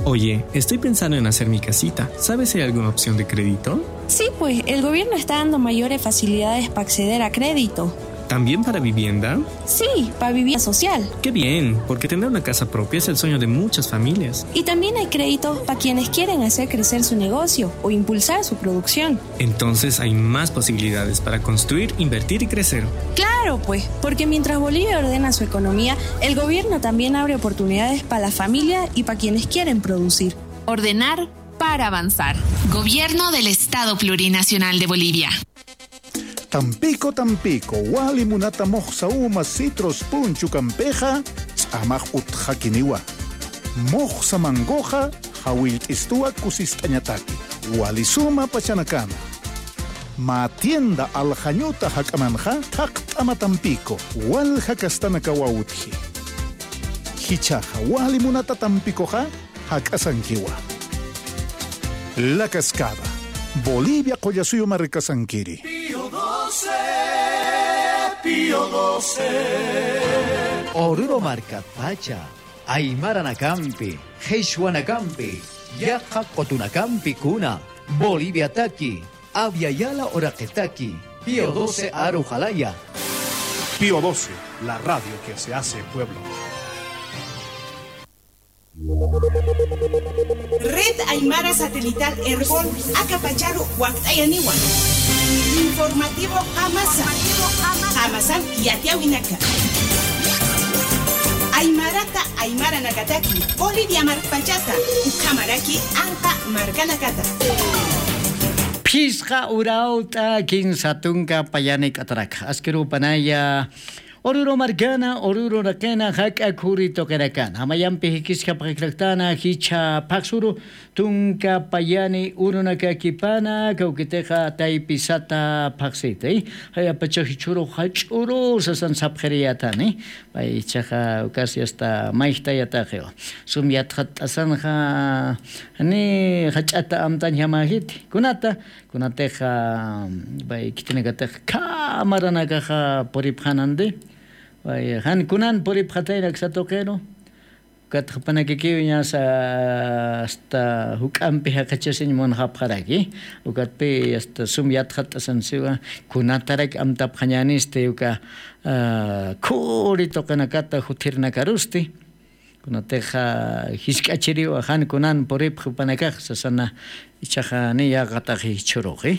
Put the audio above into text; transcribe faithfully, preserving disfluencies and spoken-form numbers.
Oye, estoy pensando en hacer mi casita. ¿Sabes si hay alguna opción de crédito? Sí, pues el gobierno está dando mayores facilidades para acceder a crédito. ¿También para vivienda? Sí, para vivienda social. Qué bien, porque tener una casa propia es el sueño de muchas familias. Y también hay créditos para quienes quieren hacer crecer su negocio o impulsar su producción. Entonces hay más posibilidades para construir, invertir y crecer. Claro, pues, porque mientras Bolivia ordena su economía, el gobierno también abre oportunidades para la familia y para quienes quieren producir. Ordenar para avanzar. Gobierno del Estado Plurinacional de Bolivia. Tampico, Tampico, wali munata muxsa uma citrus punchukampixa, ch'amax utxakiniwa. Muxsa mangoxa, jawillt'istuwa kusist'añataki. Wali suma pachanakana. Mä tienda Aljañuta jak'amanxa, thaqt'ama Tampico, walja kastanakawa utji. Jichhaxa, wali munata Tampicoxa, jak'asankiwa. La Cascada, Bolivia qullasuyu markasankiri. Pío doce, Pío doce. Oruro markatpacha, aymaranakampi, qhichwanakampi, yaqha qutunakampi kuna, Boliviataki, Abya Yala uraqitaki, Pío doce aru jalaya. Pío doce, la radio que se hace pueblo. Red Aymara Satelital Ergon, aka pacharu wakt'ayaniwa. Informativo Qamasa. Qamasan yatiyawinaka. Aymarata aymaranakataki, Bolivia markpachata, ukhamaraki anqa markanakata. Phisqa urawt'a kinsa tunka payani k'atarak. Askirupanaya, Oruro markana, Oruro uraqina, jak'a khuri tuqinakana. Jamayampi jikiskapxakraktana, jichha phaxsuru, tunka payani urunakakipana, kawkitixa taypi sata phaxsiti. Jayapacha jichhuru jach'uru sasan sapxiriyatani. Pay jichhaxa ukas yasta mayjtayataxiwa. Sum yatxat'asanxa, ni jach'ata amtañjamajiti. Kunata, kunatixa, pay khitinakatix khamaranakaxa puripxanandi. Pay jan kunan puripxatayna aksa tuqiru. Ukat jupanakakiw ñasa hasta juk'ampi jaqachasiñ munxapxaraki. Ukatpi hasta sum yatxat'asan siwa, kunatarak amtapxañänisti uka, ah, khuri tuqinakata juthirinakarusti. Kunatixa jisk'achiriwa jan kunan puripxi jupanakax sasana, ichaxa ni yaqataxi jichhuruxi.